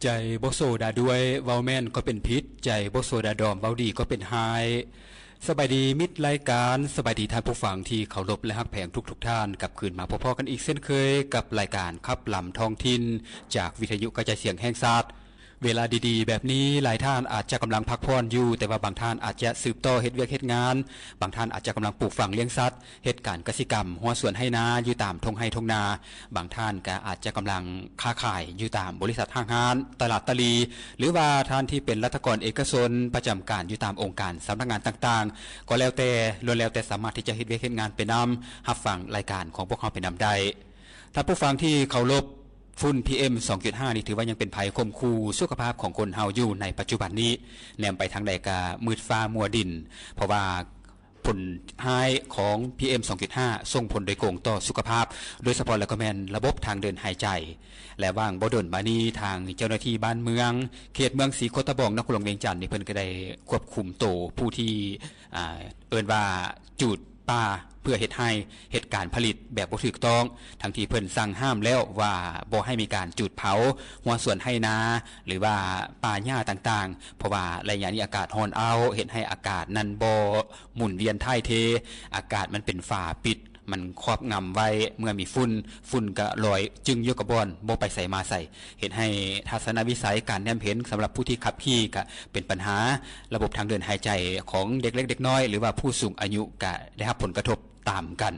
ໃຈບໍ່ໂສດາດ້ວຍ ເວົ້າແມ່ນກໍເປັນຜິດ, ໃຈບໍ່ໂສດາດອມ ເວົ້າດີກໍເປັນຮ້າຍ. ສະບາຍດີມິດລາຍການ, ສະບາຍດີທ່ານຜູ້ຟັງທີ່ເຄົາລົບ ແລະ ຮັກແພງທຸກໆທ່ານ, ກັບຄືນມາພົບພໍ້ກັນອີກເຊັ່ນເຄີຍ ກັບລາຍການຂັບລຳທ້ອງຖິ່ນ ຈາກວິທະຍຸກະຈາຍສຽງແຫ່ງຊາດ. ເວລາດີໆແບບນີ້ ຫຼາຍທ່ານອາດຈະກຳລັງພັກຜ່ອນຢູ່, ແຕ່ວ່າບາງທ່ານອາດຈະສືບຕໍ່ເຮັດວຽກເຮັດງານ, ບາງທ່ານອາດຈະກຳລັງປູກຝັງລ້ຽງສັດ, ເຮັດການກະສິກຳ, ຮົ້ວສວນໄຮ່ນາ ຢູ່ຕາມທົ່ງໄຮ່ທົ່ງນາ, ບາງທ່ານກໍອາດຈະກຳລັງຄ້າຂາຍຢູ່ຕາມບໍລິສັດຫ້າງຮ້ານ, ຕະຫຼາດຕະຫຼີ່ ຫຼືວ່າທ່ານທີ່ເປັນລັດຖະກອນເອກະຊົນ ປະຈຳການຢູ່ຕາມອົງການສຳນັກງານຕ່າງໆ ກໍແລ້ວແຕ່, ລ້ວນແລ້ວແຕ່ສາມາດທີ່ຈະເຮັດວຽກເຮັດງານໄປນຳ, ຮັບຟັງລາຍການຂອງພວກເຮົາໄປນຳໄດ້. ທ່ານຜູ້ຟັງທີ່ເຄົາລົບ, ຝຸ່ນ ພີເອັມ ສອງຈຸດຫ້າ ນີ້ຖືວ່າຍັງເປັນໄພຂົ່ມຂູ່ສຸຂະພາບຂອງຄົນເຮົາຢູ່ໃນປັດຈຸບັນນີ້. ແນມໄປທາງໃດກໍມືດຟ້າມົວດິນ, ເພາະວ່າ ຜົນຮ້າຍຂອງ ພີເອັມ ສອງຈຸດຫ້າ ສົ່ງຜົນໂດຍກົງຕໍ່ສຸຂະພາບ, ໂດຍສະເພາະແລ້ວກໍແມ່ນລະບົບທາງເດີນຫາຍໃຈ. ແລະ ຫວ່າງບໍ່ດົນມານີ້ ທາງເຈົ້າໜ້າທີ່ບ້ານເມືອງ ເຂດເມືອງສີໂຄດຕະບອງ ນະຄອນຫຼວງວຽງຈັນນີ້ ເພິ່ນກໍໄດ້ຄວບຄຸມໂຕຜູ້ທີ່ ອ່າ ເອີ້ນວ່າຈູດປ່າເພື່ອເຮັດໄຮ່ ເຮັດການຜະລິດແບບບໍ່ຖືກຕ້ອງ, ທັງທີ່ເພິ່ນສັ່ງຫ້າມແລ້ວວ່າບໍ່ໃຫ້ມີການຈູດເຜົາຮົ້ວສວນໄຮ່ນາ ຫຼືວ່າປ່າຫຍ້າຕ່າງໆ, ເພາະວ່າໄລຍະນີ້ອາກາດຮ້ອນອ້າວ ເຮັດໃຫ້ອາກາດນັ້ນບໍ່ ໝູນວຽນຖ່າຍເທ, ອາກາດມັນເປັນຝາປິດ, ມັນຄອບງຳໄວ້. ເມື່ອມີຝຸ່ນ, ຝຸ່ນກະລອຍຈຶ້ງຢູ່ກັບບ່ອນ, ບໍ່ໄປໃສມາໃສ, ເຮັດໃຫ້ທັດສະນະວິໄສ, ການແນມເຫັນສຳລັບຜູ້ທີ່ຂັບຂີ່ກະເປັນບັນຫາ. ລະບົບທາງເດີນຫາຍໃຈຂອງເດັກເລັກເດັກນ້ອຍ ຫຼືວ່າຜູ້ສູງອາຍຸກະໄດ້ຮັບຜົນກະທົບຕາມກັນ.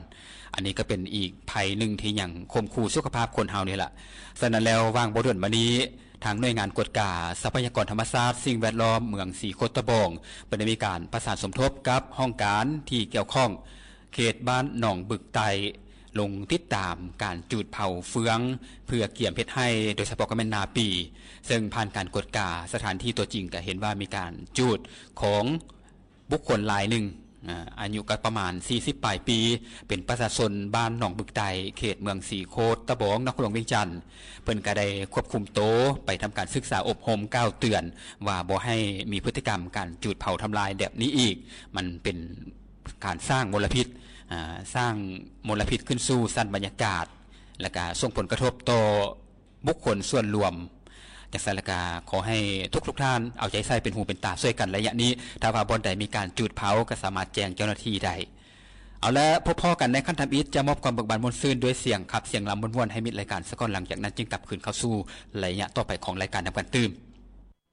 ອັນນີ້ກະເປັນອີກໄພໜຶ່ງທີ່ຍັງຂົ່ມຂູ່ສຸຂະພາບຄົນເຮົານີ້ລະ. ສະນັ້ນແລ້ວ, ຫວ່າງບໍ່ດົນມານີ້, ທາງໜ່ວຍງານກວດກາຊັບພະຍາກອນທຳມະຊາດ ສິ່ງແວດລ້ອມເມືອງສີໂຄດຕະບອງ ເພິ່ນໄດ້ມີການປະສານສົມທົບກັບຫ້ອງການທີ່ກ່ຽວຂ້ອງ ເຂດບ້ານໜອງບຶກໃຕ້ ລົງຕິດຕາມການຈູດເຜົາເຟືອງເພື່ອກຽມເຮັດໄຮ່, ໂດຍສະເພາະກໍແມ່ນນາປີ, ເຊິ່ງຜ່ານການກວດກາສະຖານທີ່ຕົວຈິງກໍເຫັນວ່າມີການຈູດຂອງ ບຸກຄົນລາຍໜຶ່ງ, ອາ, ອາຍຸກໍປະມານສີ່ສິບປາຍປີ, ເປັນປະຊາຊົນບ້ານໜອງບຶກໃຕ້ ເຂດເມືອງສີໂຄດຕະບອງ ນະຄອນຫຼວງວຽງຈັນ. ເພິ່ນກໍໄດ້ຄວບຄຸມໂຕໄປທຳການສຶກສາອົບຮົມກ່າວເຕືອນວ່າບໍ່ໃຫ້ມີພຶດຕິກຳການຈູດເຜົາທຳລາຍແບບນີ້ອີກ. ມັນເປັນການສ້າງມົນລະພິດ, ອາ, ສ້າງມົນລະພິດຂຶ້ນສູ່ຊັ້ນບັນຍາກາດ, ແລະກະສົ່ງຜົນກະທົບຕໍ່ ບຸກຄົນສ່ວນລວມ. ຈັ່ງຊັ້ນລະກະ ຂໍໃຫ້ທຸກໆທ່ານເອົາໃຈໃສ່ເປັນຫູເປັນຕາຊ່ວຍກັນໄລຍະນີ້. ຖ້າວ່າບ່ອນໃດມີການຈູດເຜົາ ກໍສາມາດແຈ້ງເຈົ້າໜ້າທີ່ໄດ້. ເອົາລະ, ພົບພໍ້ກັນໃນຄັ້ງທຳອິດ, ຈະມອບຄວາມເບີກບານມ່ວນຊື່ນດ້ວຍສຽງຂັບສຽງລຳມ່ວນໆ ໃຫ້ມິດລາຍການສາກ່ອນ, ຫຼັງຈາກນັ້ນຈຶ່ງກັບຄືນເຂົ້າສູ່ໄລຍະຕໍ່ໄປຂອງລາຍການນຳກັນຕື່ມ.